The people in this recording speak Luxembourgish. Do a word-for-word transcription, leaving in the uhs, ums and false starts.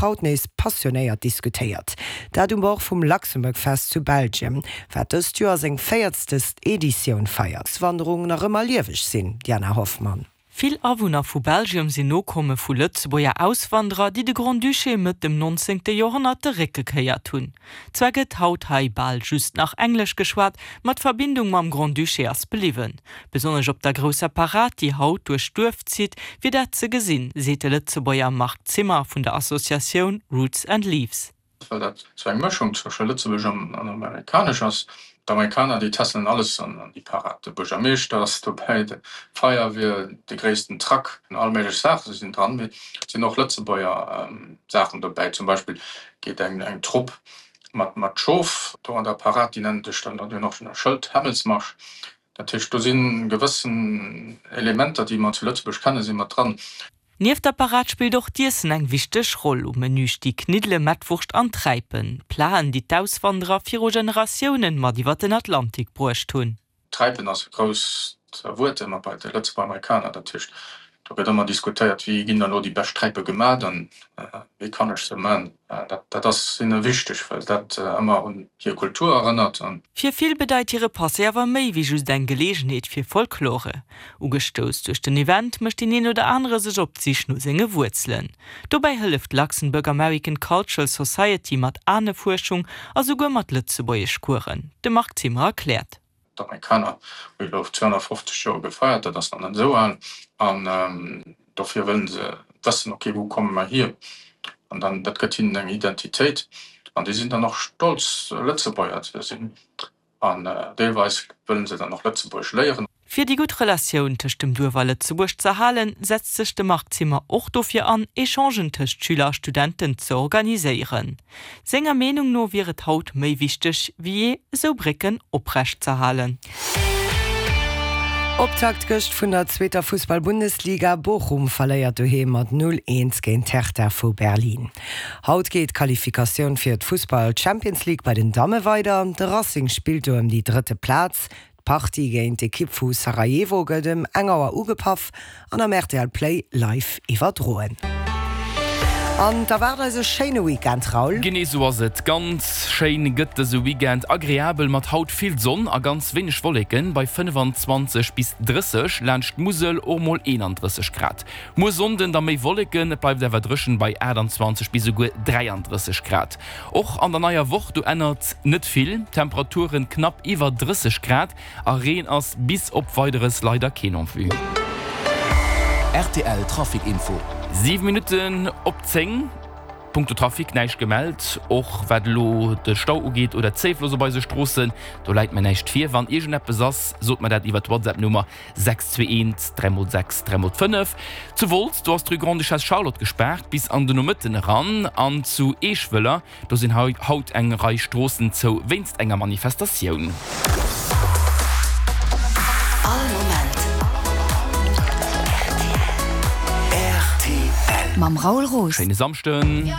Haut nees passionéiert diskutéiert. Dat um Bord vum Luxembourg Fest zu Belgien, wat dëst Joer seng véierzegst Editioun feiert. Wanderung nach ëmmer lieweg sinn, Diana Hoffmann. Vill Awunner vu Belgium sinn Nokomme vu Lëtzebuerger Auswanderer, déi de Grand-Duché Mëtt dem nonzéngte Joerhonnert de Réck gekéiert hunn. Zwar gëtt haut hei bal just nach Englesch geschwat, ma d'Verbindung mam Grand-Duché ass bliwwen. Besonnesch op der grousser Parad, déi haut duerch d'Duerf zitt, wier dat ze gesinn, seet de Lëtzebuerger Marc Zimmer vun der Associatioun Roots and Leaves. Well dat sou eng Mëschung zwësche Lëtzebuergesch an Amerikanesch ass. D'Amerikaner, déi tässelen alles an déi Parad. De Buergermeeschter ass dobäi, d'Feierwier, de gréissten Truck, all méiglech Saache sinn dran. Mee et sinn och Lëtzebuerger Saachen dobäi. Zum Beispill geet eng eng Trupp mat mat Schof do an der Parad, déi nennen sech dann, déi hunn och e Schëld, Hämmelsmarsch. Dat heescht, do si gewëssen Elementer, déi mer zu Lëtzebuerg kennen, si mat dran. Nieft der Parad spillt och d'Iessen eng wichteg Roll. Um Menü sti Kniddele, Mettwurscht an Träipen, Platen, déi d'Auswanderer viru Generatiounen mat iwwer den Atlantik bruecht hunn. Träipen ass e grousst Wuert ëmmer bei de Lëtzebuerger Amerikaner. Dat heescht, do gëtt ëmmer diskutéiert, wéi ginn dann elo déi bescht Träipe gemat an wéi kann ech se man. Dat dat ass hinne wichteg, well dat ëmmer un hir Kultur erënnert. An. Fir vill bedeit hire Passé awer méi wéi just eng Geleegenheet fir Folklore. Ugestouss duerch den Event mécht deen een oder anere sech op d'Sich no senge Wuerzelen. Dobäi hëlleft d'Luxembourg American Cultural Society mat Anefuerschung a souguer mat Lëtzebuergeschcoursen. De Marc Zimmer erkläert. D'Amerikaner hu jo zweehonnertfofzeg Joer gefeiert, dat ass nach net esou al, an dofir wëllen se wëssen, ok, wou komme mer hier? An dann, dat gëtt hinnen eng Identitéit an déi sinn dann och stolz, Lëtzebuerger ze sinn an deelweis wëllen se dann och Lëtzebuergesch léieren. Fir déi gutt Relatioun tëscht dem Duerf a Lëtzebuerg z'erhalen, setzt sech de Marc Zimmer och dofir an, Echangen tëscht Schüler a Studenten ze organiséieren. Senger Meenung no wier et haut méi wichteg wéi jee, esou Brécken oprecht z'erhalen. Optakt gëscht vun der zweeter Fussball-Bundesliga, Bochum verléiert doheem mat null, eent géint d'Hertha vu Berlin. Haut geet d'Qualifikatioun fir d'Fussball-Champions League bei den Damme weider. De Racing spillt do ëm déi drëtte Plaz. D'Partie géint d'Ekipp vu Sarajevo gëtt ëm eng Auer ugepaff an am R T L Play live iwwerdroen. An da waart eis e schéine Weekend, Raoul. Genee sou ass et. Ganz schéin gëtt dëse Weekend, agreabel mat haut vill Sonn a ganz wéineg Wolleken bei fënnefenzwanzeg bis drësseg, laanscht d'Musel och mol eenandrësseg Grad. Muer Sonnden da méi Wolleken, et bleift awer dréchen bei aachtanzwanzeg bis esouguer dräiandrësseg Grad. Och an der neier Woch, do ännert net vill, Temperaturen knapp iwwer drësseg Grad a Reen ass bis op Weideres leider keen en vue. R T L Trafic Info. Siwe Minutten op zéng. Punkto Trafic näischt gemellt, och wat elo de Stau ugeet oder d'Zéifloss op eise Stroossen, do läit mir näischt vir. Wann iergendeppes ass, sot mer dat iwwer d'WhatsApp-Nummer sechs zwee eent dräi mol sechs dräi mol fënnef. Zu Wolz, do ass d'Rue Grande-Duchesse Charlotte gespaart bis an de Nomëtten eran an zu Eeschwëller, do sinn haut eng Rei Stroossen zou wéinst enger Manifestatioun. All Moment rtl. Mam Raoul Roos. Schéine Samschden.